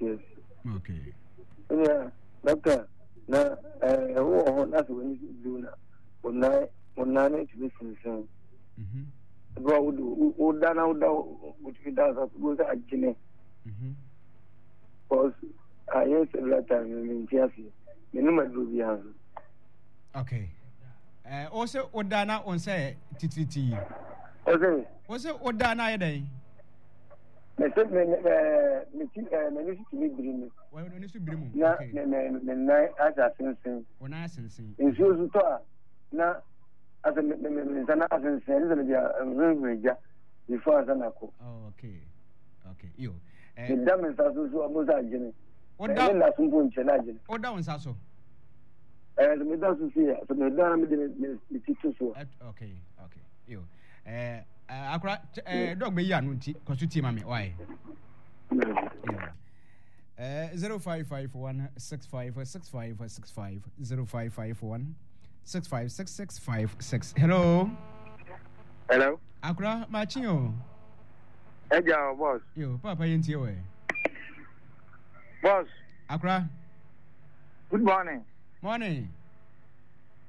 mente ase. Okay. Ɛnna dɔkta na ɛɛ wowɔ hɔ na sɛ w'ani so biriw na wo nan wo nan no tumi sensɛn. Mhm. Ebi a wode woda na woda wotumi da nsa so wo sɛ agyene. Mhm. Because ayɛ several times no mente aseɛ. Menom aduro biara nso. Okay. Eh, wo sɛ woda na wo nsa yɛ titiritii. Ɔsɛ. Wo sɛ woda na ayɛ dɛn? Mese me me me ti ɛɛ m'ani so tumi biri mi. W'ani so biri mu. Na me me me nan asɛ asensen. Wo nan asensen. Nsuo so tɔ a na asɛ me me me nsa na asensen ɛne sɛ mede nhurahura gya before ansa na kɔ. Oh, okay. Okay. Yo. Eh, meda me nsa so so ɔmo nsa agyene. Woda. Ɛne nna so mpo nkyɛn na agyene. Woda wo nsa so. Ɛɛ sɛ meda so si a sɛ meda na mede me me ti to so. Okay. Okay. Yo. Eh, akora eh, dɔg bɛyi ano nti kɔ so tie ma me wae eh, 0551 656565 0551 656656 hello hello akora makye o ɛgya o boss yo papa yɛntie wɔ boss akora good morning morning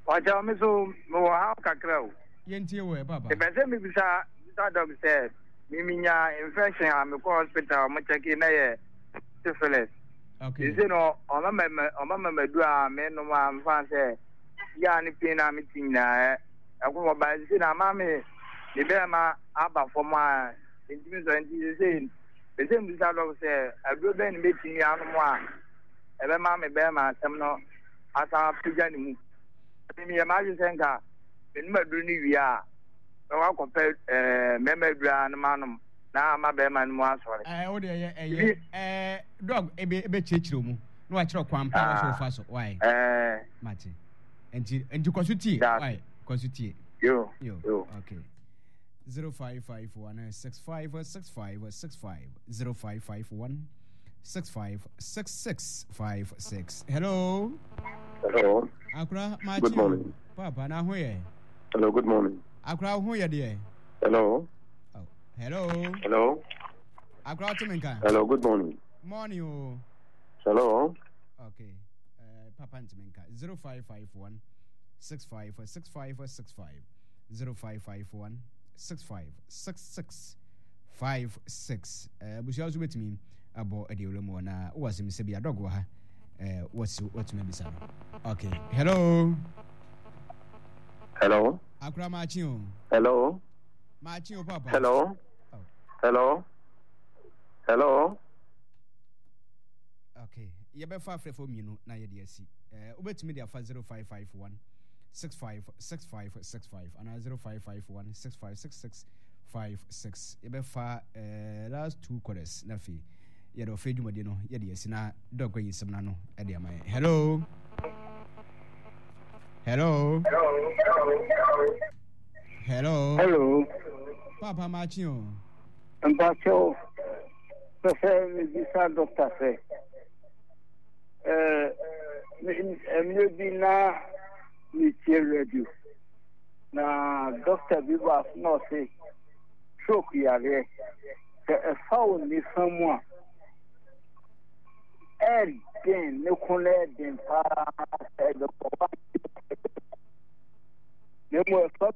ɔkyɛ me so mewɔ ha kakra o Yɛntie wo ɛ papa. Mepɛ sɛ mebisa bisa doc sɛ me menya infection a mekɔ hospital ɔmo kyɛke na yɛ syphilis. Okay. Sese no ɔma ma ɔma ma madu a menom a mfa sɛ yaa ne pain a mete nyinaa ɛko hɔ ba sese na ama me me bɛrima aba fam a ntumi sɔ nti sese pɛ sɛ mbisa doc sɛ aduro bɛn ne mɛtumi anom a ɛbɛma me bɛrima asɛm no asan apagya ne mu. Meyɛ m'adwene sɛ nka menom aduru no wie a, mɛkɔ akɔpɛ ɛɛ mmarima aduru a no manom na ama bɛrima no mu asɔre. Ɛɛ o deɛ ɛyɛ ɛyɛ ɛɛ dɔg ebe ebe kyerɛkyerɛ mu na wakyerɛ kwan pa wɔsɔ fa so wae. Ɛɛ. Mate nti nti kɔ so tie wae kɔ so tie. Yo yo yo okay. 0551 6565 65 0551 656656. Hello. Hello. Akura Machi. Good morning. Papa na ho yɛ. Hello, good morning. Akura ho yɛ deɛ. Hello. Oh, hello. Hello. Akura wote me nka. Hello, good morning. Morning o. Oh. Hello. Okay. Papa ntumi nka 0551 656565 0551 6566 56. Abusua nso bɛtumi abɔ ɛde wura mu na wowɔ asɛm sɛ bi adɔg wɔ ha wɔsi watumi abisa no. Okay. Hello. Hello. Akora maakye o. Hello. Maakye o papa. Hello. Oh. Hello. Hello. Okay. Yɛbɛfa afrɛfo mmienu na yɛde asi. Wobɛtumi de afa 0551 656565 anaa 0551 6566 56. Yɛbɛfa last two quarters na afei yɛde ɔfrɛ dwumadi no yɛde asi na dɔkɔ yi nsɛm no ano de ama yɛn. Hello. Hello. Hello. Hello. Papa Machi o. Mpacho, pɛ sɛ mebisa dɔkta sɛ, mmerɛ bi na metie radio na dɔkta bi baa so na ɔse stroke yareɛ sɛ ɛfa wo nifa mu a ɛden ne ko no ɛden paa sɛ ɛbɛkɔ wa na mmom ɛfa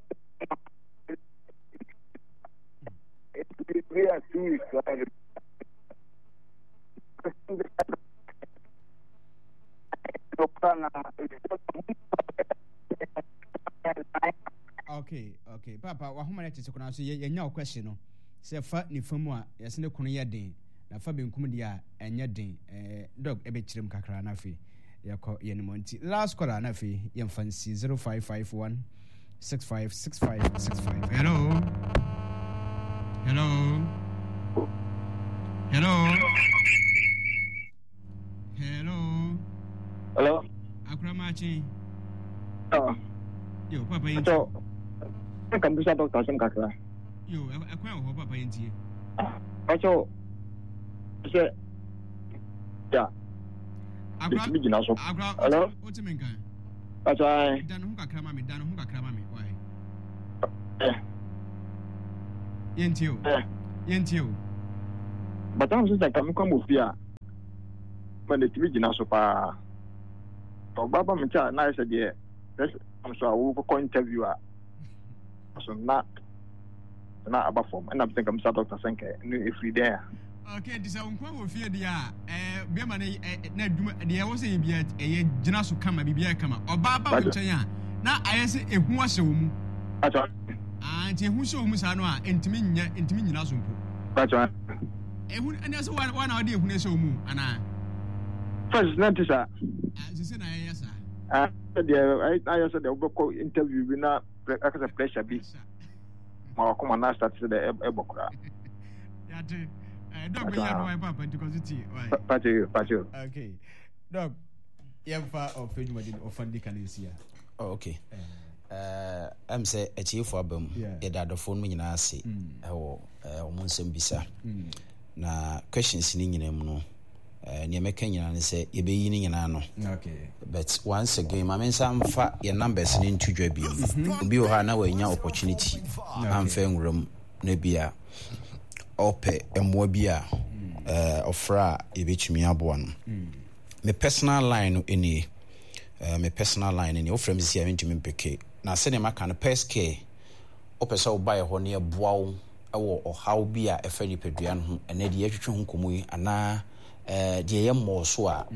bi a 2 weeks Okay, okay. Papa, wahoma no tete koraa so yɛnya wo question no. Sɛ fa nifa mu a yɛsɛ ne kono yɛ den na fa benkum deɛ a ɛnyɛ den. Eh, dog ɛbɛkyerɛ mu kakra na afei yɛkɔ yɛn mu nti last caller na afei yɛmfa nsi 0551 656565. Hello. Hello. Hello. Hello. Hello. Akura Machi. Oh. Yo, Papa yɛn tie. Nka mbisa doctor asɛm kakra. Yo, ɛkwan wɔ hɔ Papa yɛn tie. Ɔkyɛw sɛ ya. Akura gyina so. Akura, Hello. Wote me nka. Ɔkyɛw. Dan ho kakra ma me, dan ho kakra ma me. Why? Eh. Yɛn tie o. Eh. Yɛn tie o. Bata nso sɛ kame kɔ mo fie a. Ma na ɛtumi gyina so paa. Sɛ ɔbaa ba me nkyɛn a na ayɛ sɛ deɛ pressure am so a wokɔkɔ interview a so na na aba fam ɛna sɛ nka misa doctor sɛ nka ɛno ɛfiri dɛn a. Okay, nti sɛ wo nkoa wɔ fie deɛ a ɛɛ bɛrima no ɛ na adwuma deɛ ɛwɔ sɛ yɛ bia ɛyɛ gyina so kama biribiara kama. Ɔbaa ba wo nkyɛn a na ayɛ sɛ ehu ahyɛ wo mu. Pacho. Ah, nti ehu hyɛ wo mu saa no a ntumi nyɛ ntumi nyina so mpo. Pacho. Ehu ɛna sɛ wa na ɔde ehu no hyɛ wo mu anaa? First na nti saa. Ah, sisi na ɛyɛ saa. Ah, deɛ ayɛ sɛ deɛ wobɛkɔ interview bi na akasɛ pressure bi. Ma wakoma na start sɛ dɛ ɛbɔ koraa. Yate. Eh, dɔk bɛyi ano wayɛ papa nti kɔ so tie. Pacho, pacho. Okay. Dɔk, yɛmfa ɔfɛ dwumadi ɔfa di kan nsi a. Oh, okay. Ɛm sɛ atiefo aba mu. Yɛda adɔfoɔ no nyinaa ase ɛwɔ wɔn nsɛm bisa. Na questions no nyinaa mu no, nea mɛka nyinaa ne sɛ yɛbɛyi ne nyinaa no. But once again, ma me nsa mfa yɛn numbers no nto dwa bio. Obi wɔ hɔ a na wanya opportunity amfa nwura mu na bi a ɔpɛ mmoa bi a ɔfrɛ a yɛbɛtumi aboa no. Me personal line no nie. Me personal line no nie. Wofrɛ me sisi a mentumi mpeke. Na sɛdeɛ maka no, pers care, wopɛ sɛ woba yɛ hɔ na yɛboa wo wɔ ɔhaw bi a ɛfa nipadua no ho, ɛnɛ deɛ yɛtwetwe ho nkɔmmɔ yi anaa deɛ ɛyɛ mmɔɔ so a,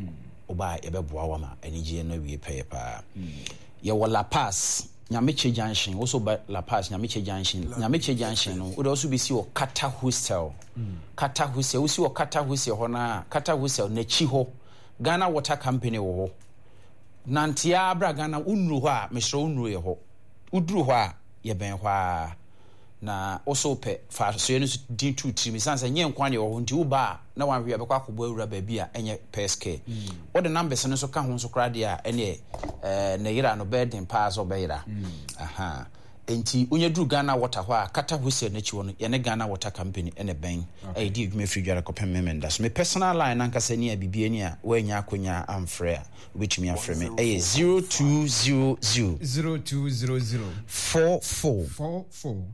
woba a yɛbɛboa wo ama anigyeɛ no awie pɛyɛ paa. Yɛwɔ La Paz, Nyamekyɛ Junction, wo so ba La Paz, Nyamekyɛ Junction. Nyamekyɛ Junction no, wode wo so bɛsi wɔ Kata Hostel. Kata Hostel, wosi wɔ Kata Hostel hɔ no a, Kata Hostel n'akyi hɔ, Ghana Water Company wɔ hɔ. Nante ara bra Ghana, wonnuru hɔ a, mesrɛ wo nnuru yɛ hɔ. Woduru hɔ a, yɛbɛn hɔ ara. Na wo so wopɛ, fa asoɛe no so din to wo tirim. Esiane sɛ ɛnyɛ nko ara na ɛwɔ hɔ nti, woba a, na woanhwɛ a bɛkɔ akɔbɔ awura baabi a ɛnyɛ pɛs kɛ. Wode numbers no nso ka ho nso koraa deɛ a, ɛneɛ ɛɛ ne yera no bɛyɛ den paa sɛ ɔbɛyera. Aha. Enti wonya duru Ghana Water hɔ a, Kata Whistle no akyi hɔ no, yɛne Ghana Water Company na ɛbɛn a yɛdi adwuma firi Dware kɔpem Memenda. So me personal line no ankasa ni a biribi ani a woannya akonya amfrɛ a, wobɛtumi afrɛ me. Ɛyɛ 0200. 0200. 44. 44.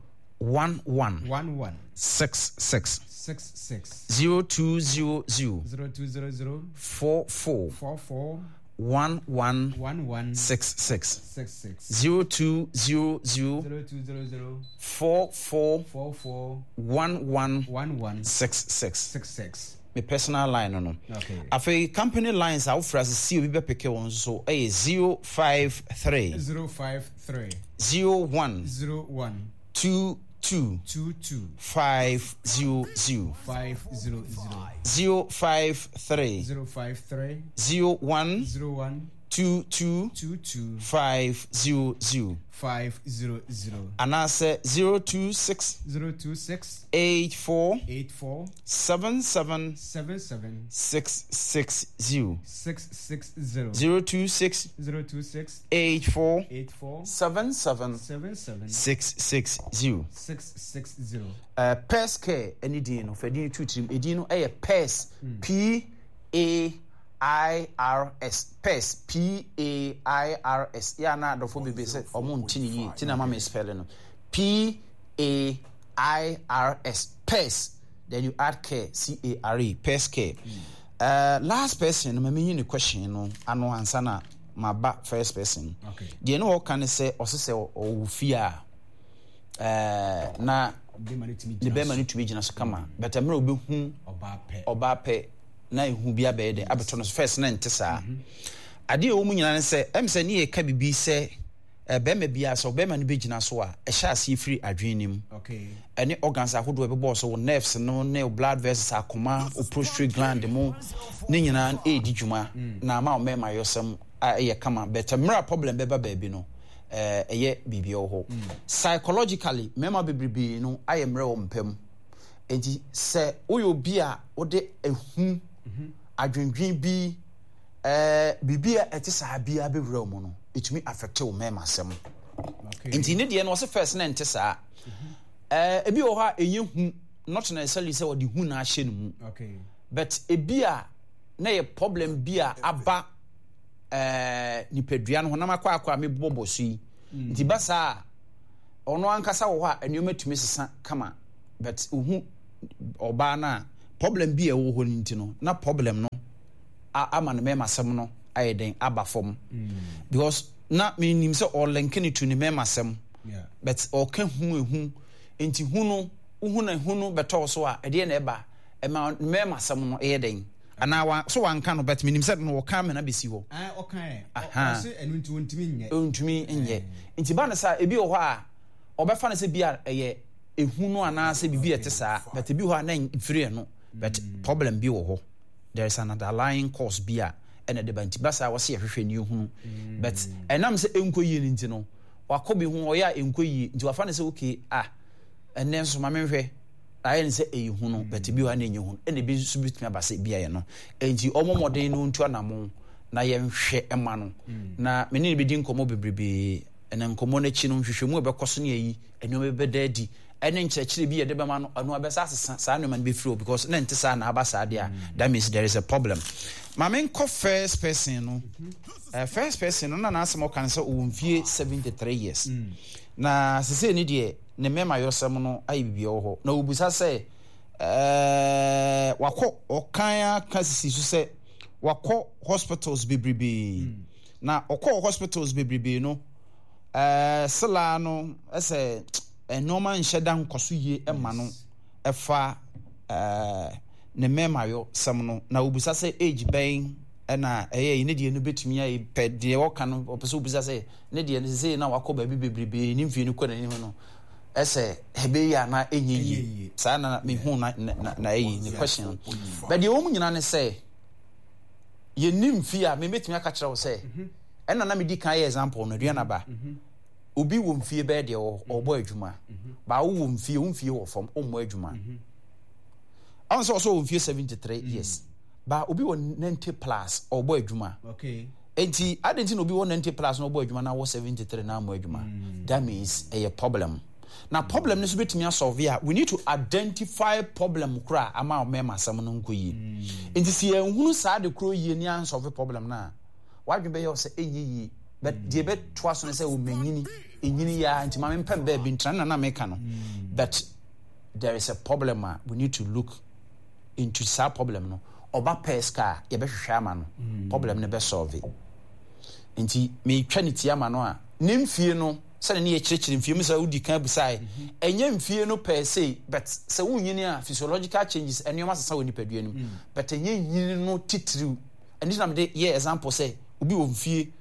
11. 11. 66. 66. 0200. 0200. 44. 44. 11. 11. 66. 66. 0200. 0200. 44. 44. 11. 11. 66. 66. Me personal line no no. Okay. Afei company lines a wofrɛ ase si obi bɛpeke wɔn nso so ɛyɛ 053. 053. 01. 01. 22. 22. 500. 500. 053. 053. 01. 01. 22. 22. 500. 500. Anaasɛ 026. 026. 84. 84. 77. 77. 660. 660. 026. 026. 84. 84. 77. 77. 660. 660. Pairs Care ne din no, fa din no to tirim. Edin no yɛ Pairs, P A I R S, Pairs, P A I R S. Yɛ a na adɔfoɔ bebree sɛ wɔn nte ne yie, ti na ama me spell no. P A I R S, Pairs, then you add care, C A R E, Pairs Care. Last person no, ma menyi ne question no ano ansa na maba first person. Okay. Deɛ ne ɔka ne sɛ ɔse sɛ ɔwɔ fie a ɛɛ na ne bɛrima no tumi gyina so kama but mmerɛ ɔbɛhu ɔbaa pɛ na ehu bi abɛyɛ dɛ abɛtɔ no so first na nte saa adeɛ ɛwɔ mu nyinaa ne sɛ ɛm sɛ ne yɛka biribi sɛ bɛrima biara sɛ ɔbɛrima no bɛgyina so a ɛhyɛ aseɛ firi adwene no mu ɛne organs ahodoɔ ɛbɛbɔɔ so wo nerves no ne wo blood vessels akoma wo prostate gland mu ne nyinaa ɛredi dwuma na ama wo mmarima yɔsɛm a ɛyɛ kama but mmerɛ a problem bɛba baabi no ɛyɛ biribi wɔ hɔ. Psychologically, mmarima bebrebe no ayɛ mmerɛ wɔ mpa mu. Enti sɛ woyɛ obi a wode ehu, adwendwen bi, biribi a ɛte saa biara bɛwura wo mu no, ɛtumi affect wo mmarima asɛm. Nti ne deɛ no ɔse first na ɛnte saa. Ebi wɔ hɔ a ɛnyɛ hu, not necessarily sɛ ɔde hu na ahyɛ ne mu. But ebi a na yɛ problem bi a aba ɛɛ nipadua no honam akɔ akɔ a mebobɔbɔ so yi mm. nti ba saa a ɔno ankasa wɔ hɔ a nneɛma tumi sesa kama but ohu ɔbaa no a problem bi a ɛwɔ hɔ no nti no na problem no. ama ne mɛmasɛm no ayɛ dɛn aba fam because na menim sɛ ɔlɛnke ne to ne mɛmasɛm but ɔka hu ehu nti hu no wohu na hu no bɛtɔɔ so a ɛdeɛ na ɛba ɛma ne mɛmasɛm no ɛyɛ dɛn anaa wa so wanka no but menim sɛ no ɔka amena bɛsi hɔ. Ɔka ɛ ɔse ɛno nti ɔntumi nyɛ. Ɔntumi nyɛ nti ba no saa ebi wɔ hɔ a ɔbɛfa no sɛ bi a ɛyɛ ehu no anaasɛ biribi a ɛte saa but ebi wɔ hɔ a na mfiri ɛno but problem bi wɔ hɔ there is an underlying cause bi a ɛna ɛde ba nti ba saa wɔse yɛhwehwɛ ne ehunu but ɛnam sɛ ɛnkɔ yie no nti no wakɔ bi ho ɔyɛ a ɛnkɔ yie nti wafa no sɛ okay ah ɛnɛ nso ma menhwɛ ayɛ no sɛ ɛyɛ hu no but ebi wɔ ha na ɛnyɛ hu ɛna ebi nso betumi aba sɛ ebi ayɛ no nti ɔmo mmɔden no ntu anamo na yɛnhwɛ ɛma no na me ne no bɛdi nkɔmmɔ bebrebe ɛna nkɔmmɔ no akyi no nhwehwɛmu a ɛbɛkɔ so ne ayi nneɛma bi bɛda adi ɛne nkyerɛkyerɛ bi yɛde bɛma no ɛno abɛsa asesa saa nneɛma no bɛfiri hɔ because na nte saa na aba saa deɛ a that means there is a problem ma menkɔ first person no uh, first person no na n'asɛm ɔka no sɛ ɔwɔ mfie 73 years mm. na sesei ne deɛ ne mmɛmayɔsɛm no ayɛ biribi wɔ hɔ na ɔbisa sɛ ɛɛ wakɔ ɔkan aka sisi so sɛ wakɔ hospitals bebrebe mm. na ɔkɔɔ hospitals bebrebe no ɛɛ selaa no ɛsɛ nneɛma nhyɛ da nkɔ so yie ɛma no ɛfa ɛɛ ne mmɛmayɔsɛm no na ɔbisa sɛ age bɛn ɛna ɛyɛ yi ne deɛ no bɛtumi ayɛ pɛ deɛ ɔka no ɔpɛ sɛ ɔbisa sɛ ne deɛ no sesei na wakɔ baabi bebrebee ne mfie no kɔ n'anim no ɛsɛ ɛbɛyɛ anaa ɛnyɛ yie saa na mehu na na na ɛyi ne question no but deɛ wɔn nyinaa ne sɛ yɛnni mfie a mebɛtumi aka kyerɛ wo sɛ mhm. ɛna na medi kan yɛ example no aduane aba mhm. obi wɔ mfie bɛyɛ deɛ ɔbɔ adwuma mhm. baa wowɔ mfie wo mfie wɔ fam ɔmmɔ adwuma ɔn sɛ ɔsɛ wɔ mfie 73 years Ba obi wɔ 90 plus ɔbɔ adwuma. Okay. Enti adɛn nti na obi wɔ 90 plus na ɔbɔ adwuma na wɔ 73 na ammɔ adwuma? Mm. That means ɛyɛ problem. Na problem no nso betumi asɔlve a we need to identify problem koro a ama mmarima asɛm no nkɔ yie. Mm. Nti sɛ yɛnhunu saa de koro yie ne ansɔlve problem no a, wadwene bɛyɛ sɛ ɛnyɛ yie. But mm. deɛ ɛbɛtoa so no sɛ wɔmanyini, ɛnyini yɛ a nti ma mempɛ baabi ntena na na meka no. Mm. But there is a problem a we need to look into saa problem no ɔba pɛɛ sika a yɛbɛhwehwɛ ama no mm. problem no bɛ solve nti metwa ne ti ama no a ne mfie no sɛde ne yɛkyerɛkyerɛ mfie mu sɛ wodi kan busae mhm. ɛnyɛ mfie no pɛɛ sei but sɛ wonyini a physiological changes nneɛma sesa wɔ nipadua no mu mm. but ɛnyɛ nyini no titiriw ɛno na mede yɛ example sɛ obi wɔ mfie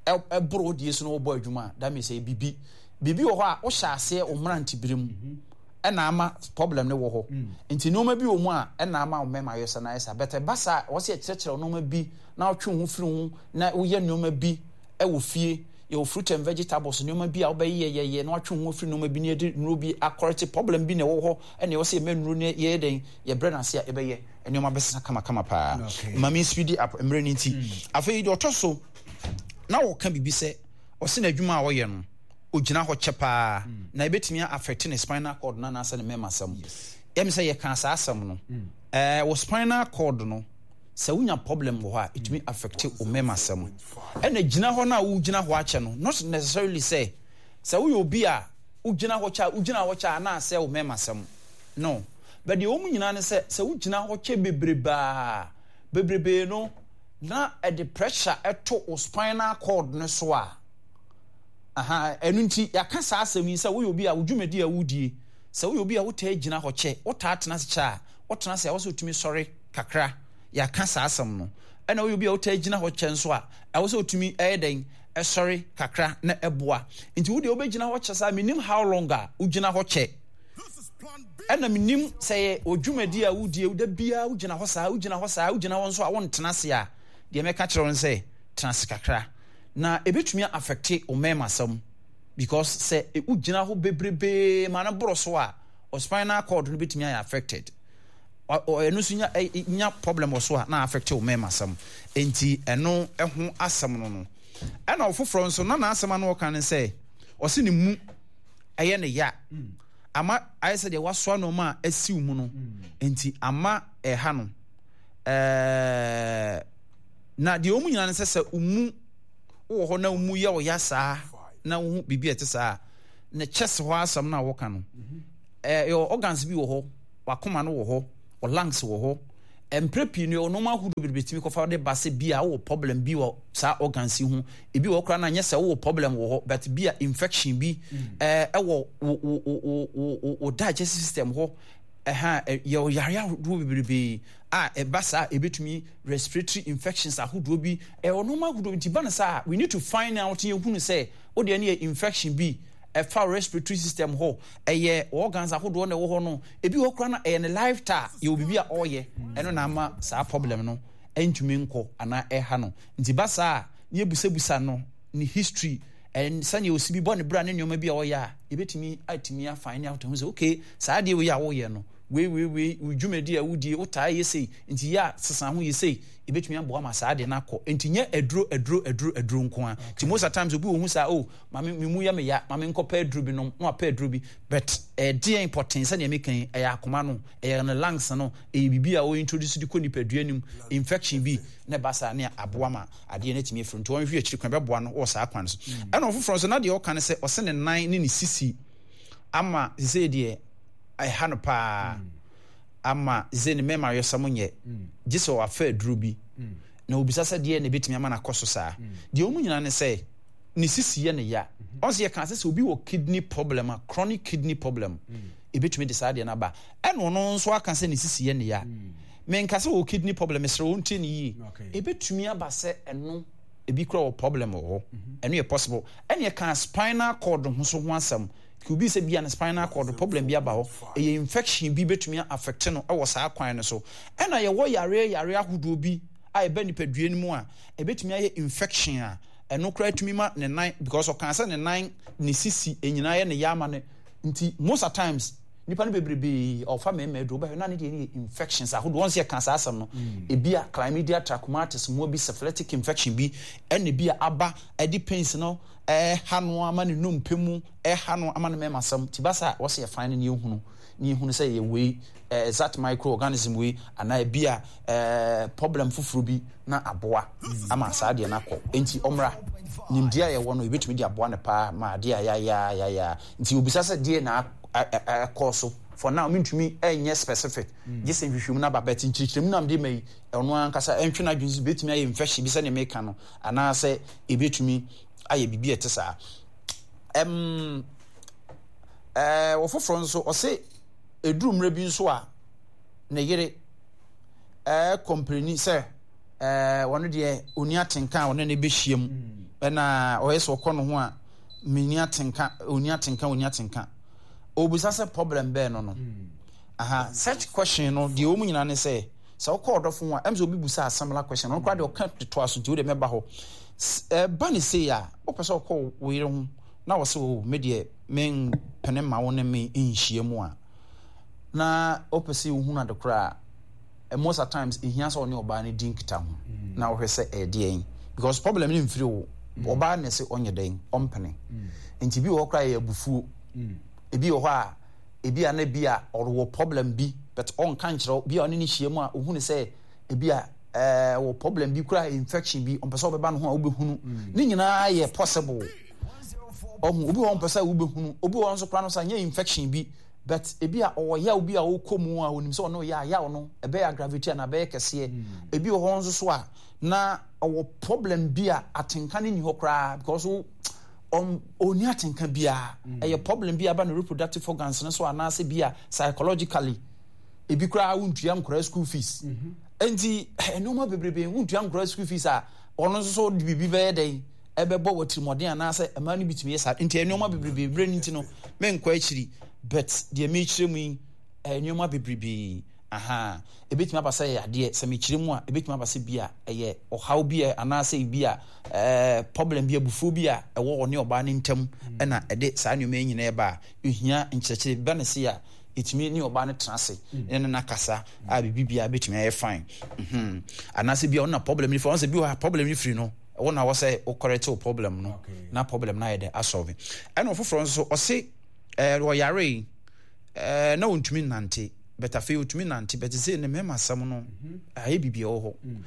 ɛboro wodie so no wɔbɔ adwuma a that means ɛyɛ biribi biribi wɔ hɔ a wohyɛ aseɛ wo mmerantebere mu mhm. ɛna ama problem no wɔ hɔ nti nneɛma bi wɔ mu a ɛna ama wo mmarima ayɛ sa na ayɛ sa but ɛba saa a wɔsɛ yɛkyerɛkyerɛ nneɛma bi na wotwe wo ho firi ho na woyɛ nneɛma bi ɛwɔ fie yɛwɔ fruit and vegetables nneɛma bi a wobɛyɛ yɛyɛ na watwe wo ho afiri nneɛma bi na yɛde nnuro bi akɔrɛte problem bi na ɛwɔ hɔ ɛna ɛwɔ sɛ yɛma nnuro no yɛyɛ dɛn yɛbrɛ no ase a ɛbɛyɛ nneɛma bɛsesa kamakama paa ma me speed up mmerɛ no nti mm. afei deɛ ɔtɔ so na wɔka biribi sɛ ɔse n'adwuma a ɔyɛ no ogyina hɔ kyɛ paa na ebetumi a affect ne spinal cord no anaasɛ ne mɛmasɛm. Yɛm sɛ yɛkaa saa asɛm no. Ɛɛ wɔ spinal cord no sɛ wonya problem wɔ hɔ a etumi affect wo mɛmasɛm. Ɛna gyina hɔ no a wogyina hɔ akyɛ no not necessarily sɛ sɛ woyɛ obi a wogyina hɔ kyɛ a wogyina hɔ kyɛ a na asɛe wo mɛmasɛm. No. But deɛ wɔn nyinaa ne sɛ sɛ wogyina hɔ kyɛ bebrebaa bebrebee no na ɛde pressure ɛto wo spinal cord no so a Aha, ɛno nti yɛaka saa asɛm yi sɛ woyɛ obi a wo dwumadi a wodie, sɛ woyɛ obi a wotaa gyina hɔ kyɛ, wotaa tena ase kyɛ a, wotena ase a ɛwɔ sɛ wotumi sɔre kakra. Yɛaka saa asɛm no. Ɛna woyɛ obi a wotaa gyina hɔ kyɛ nso a, ɛwɔ sɛ wotumi ɛyɛ dɛn? Ɛsɔre kakra na ɛboa. Nti wo deɛ wobɛgyina hɔ kyɛ saa, menim how long a wogyina hɔ kyɛ. Ɛna menim sɛ yɛ wɔ dwumadi a wodie, da biara wogyina hɔ saa, wogyina hɔ saa, wogyina hɔ nso a wontena ase a, deɛ mɛka kyerɛ wo ne sɛ, tena ase kakra. Na ebetumi a affecte wo mmarima because sɛ wo gyina hɔ bebrebee ma no boro so a, wo spinal cord no betumi ayɛ affected. Ɛno nso nya nya problem wɔ so a na affecte wo mmarima sɛm. Enti ɛno ho asɛm no no. Ɛna ɔfoforɔ nso na n'asɛm ano ɔka ne sɛ ɔse ne mu ɛyɛ ne ya. Ama ayɛ sɛ deɛ wasoa nneɛma a asiw mu no. Enti ama ɛha no. Ɛɛ Na deɛ wɔn nyinaa ne sɛ, sɛ wo mu wowɔ hɔ na wo mu yɛ wo ya saa na wohu biribi a ɛte saa a, ne chest hɔ asɛm no a wɔka no, ɛyɛ organs bi wɔ hɔ, wakoma no wɔ hɔ, wɔ lungs wɔ hɔ, Mprɛ pii no yɛwɔ nnoɔma ahodoɔ bebree tumi kɔfa de ba sɛ bi a wowɔ problem bi wɔ saa organs yi ho. Ebi wɔ hɔ koraa no a nyɛ sɛ wowɔ problem wɔ hɔ but bi a infection bi ɛwɔ wo wo wo wo wo digestive system hɔ. Ɛha yɛwɔ yareɛ ahodoɔ bebrebe a ɛba saa a ɛbɛtumi respiratory infections ahodoɔ bi ɛwɔ nnoɔma ahodoɔ nti ba no saa we need to find out yɛhunu sɛ wodeɛ no yɛ infection bi ɛfa respiratory system hɔ ɛyɛ organs ahodoɔ na ɛwɔ hɔ no ebi wɔ koraa na ɛyɛ ne lifestyle yɛwɔ biribi a ɔreyɛ ɛno na ama saa problem no ɛntumi nkɔ anaa ɛha no nti ba saa a ne yɛbusabusa no ne history ɛn sɛnea osi bi bɔ ne bra ne nneɛma bi a ɔyɛ a yɛbɛtumi atumi afa ne ahoto ho sɛ okay saa adeɛ wei a woyɛ no wei wei wei wo dwumadi a wodie wotaa yɛ sei nti yɛ a sesa ho yɛ sei ɛbɛtumi aboa ma saa adeɛ no akɔ nti nyɛ aduro aduro aduro aduro nko a nti most of times obi wɔ hu saa oh ma me me mu yɛ me ya ma me nkɔpɛ aduro bi nom na wapɛ aduro bi but ɛdeɛn pɔten sɛdeɛ meka yi ɛyɛ akoma no ɛyɛ ne lungs no ɛyɛ biribi a ɔyɛ introduce de kɔ nipadua no mu infection bi na ɛba saa ne aboa ma adeɛ no atumi afiri nti wɔnhwɛ akyiri kwan bɛboa no wɔ saa kwan so mm. Ɛna ɔfoforɔ nso na deɛ ɔka no sɛ ɔsɛ ne nan ne ne sisi ama sɛ deɛ ɛha no paa mm. Ama sɛ ne mmarima ayɔsɛm nyɛ mm. Gye sɛ wafa aduro bi na obisa sɛ deɛ na ɛbɛtumi ama no akɔ so saa. Deɛ wɔn nyinaa ne sɛ ne sisi yɛ ne ya. Ɔn sɛ yɛka sɛ sɛ obi wɔ kidney problem a, chronic kidney problem, ebetumi de saa adeɛ no aba. Ɛna ɔno nso aka sɛ ne sisi yɛ ne ya. Menka sɛ wɔ kidney problem, mesrɛ wo ntie ne yie. Ebetumi aba sɛ ɛno ebi kura wɔ problem wɔ hɔ. Ɛno yɛ possible. Ɛna yɛka spinal cord ho so ho asɛm. Obi sɛ bia ne spinal cord problem bi aba hɔ. Ɛyɛ infection bi betumi affect no wɔ saa kwan no so. Ɛna yɛwɔ yareɛ yareɛ ahodoɔ bi a ɛba nipadua no mu a, ɛbɛtumi ayɛ infection a ɛno koraa tumi ma ne nan because ɔkaa sɛ ne nan ne sisi nyinaa yɛ ne ya ama no nti most at times nipa no bebrebe ɔfa mmarima aduro bɛhwɛ na ne deɛ ne yɛ infections ahodoɔ wɔn sɛ yɛka saa asɛm no mm. Ebi a chlamydia trachomatis mmoa bi syphilitic infection bi ɛna ebi a aba ɛde pains no ɛha no ama ne nnompe mu ɛha no ama ne mmarima asɛm ti ba saa wɔsɛ yɛfan no ne yɛhunu ne yɛhunu sɛ yɛ wei eh, that microorganism wei anaa ebi a eh, problem foforɔ bi na aboa ama saa adeɛ no akɔ. Enti ɔmmra. Nimdeɛ a yɛwɔ no, yɛbɛtumi de aboa no paa ma adeɛ a yɛayɛ yɛayɛ. Nti obisa sɛ deɛ na ɛkɔɔ so. For now, mentumi nyɛ specific. Gye sɛ nhwehwɛmu no aba. But nkyerɛkyerɛmu no a mede ma yi, ɔno ankasa ɛntwe n'adwene so bɛtumi ayɛ infection bi sɛdeɛ meka no, anaasɛ ɛbɛtumi ayɛ biribi a ɛte saa. Ɛm, ɛɛ, wɔ foforɔ nso, ɔse ɛduru mmerɛ bi nso a, ne yere kɔmpleni sɛ ɔno deɛ ɔni atenka a ɔne ne bɛhyia mu ɛna ɔyɛ sɛ ɔkɔ no ho a menni atenka ɔni atenka ɔni atenka ɔbisa sɛ problem bɛɛ no no aha such question no deɛ wɔn nyinaa ne sɛ sɛ wokɔ ɔdɔfo ho a ɛm sɛ obi busa similar question ɔno koraa deɛ ɔka de toa so nti wode mɛba hɔ ɛba ne sei a wopɛ sɛ ɔkɔ wo yere ho na wɔ sɛ o me deɛ mempene ma wo ne me nhyia mu a na wopɛ sɛ wohunu ade koraa a, most at times ehia sɛ ɔne ɔbaa no di nkitaho mm. na wohwɛ sɛ ɛyɛ deɛn because problem no mfiri wo mm. ɔbaa na ɛsɛ ɔnyɛ dɛn ɔmpene mm. Nti bi wɔ hɔ koraa yɛ abufuo. Ebi wɔ hɔ a ebi a na ebi a ɔwɔ problem bi but ɔnka nkyerɛ bi a ɔne ne hyia mu a ohunu sɛ ebi a ɛɛ wɔ problem bi koraa infection bi ɔmpɛ sɛ ɔbɛba ne ho a wobɛhunu. Ne nyinaa yɛ possible. Ɔho obi wɔ hɔ ɔmpɛ sɛ wobɛhunu obi wɔ hɔ nso koraa no sɛ nyɛ infection bi but ebi a ɔwɔ yaw bi a ɔkɔ mu a onim sɛ ɔno yɛ a yaw no ɛbɛyɛ aggravate anaa ɛbɛyɛ kɛseɛ. Ebi wɔ hɔ nso so a na ɔwɔ problem bi a atenka no nni hɔ koraa because ɔnni atenka biara. Ɛyɛ problem bi a aba ne reproductive organs no so anaasɛ bi a psychologically ebi koraa wontua nkwadaa school fees. Nti nneɛma bebrebe wontua nkwadaa school fees a ɔno nso so de biribi bɛyɛ dɛn ɛbɛbɔ wɔ atirimuɔden anaasɛ mmaa no bi tumi yɛ saa nti nneɛma bebrebe berɛ no nti no menkɔ akyiri but deɛ mekyerɛ mu yi ɛyɛ nneɛma bebrebe aha ebetumi aba sɛ ɛyɛ adeɛ sɛ mekyerɛ mu a ebetumi aba sɛ bi a ɛyɛ ɔhaw bi a anaasɛ bi a ɛɛ problem bi abufuo bi a ɛwɔ ɔne ɔbaa no ntam ɛna ɛde saa nneɛma yi nyinaa ɛba a ehia nkyerɛkyerɛ ba ne se a etumi ne ɔbaa no tena ase ne ne nakasa a biribi biara betumi ayɛ fine anaasɛ bi a ɔno na problem no firi ɔno sɛ bi wɔ ha problem no firi no wo na wɔ sɛ wo correct wo problem no na problem no ayɛ dɛ asɔve. Ɛna ɔfoforɔ nso ɔse ɛɛ ɔyare ɛɛ na ɔntumi nnante but afei ɔtumi nante but sɛ ne mmarima asɛm no mhm. Ayɛ biribi ɛwɔ hɔ mm.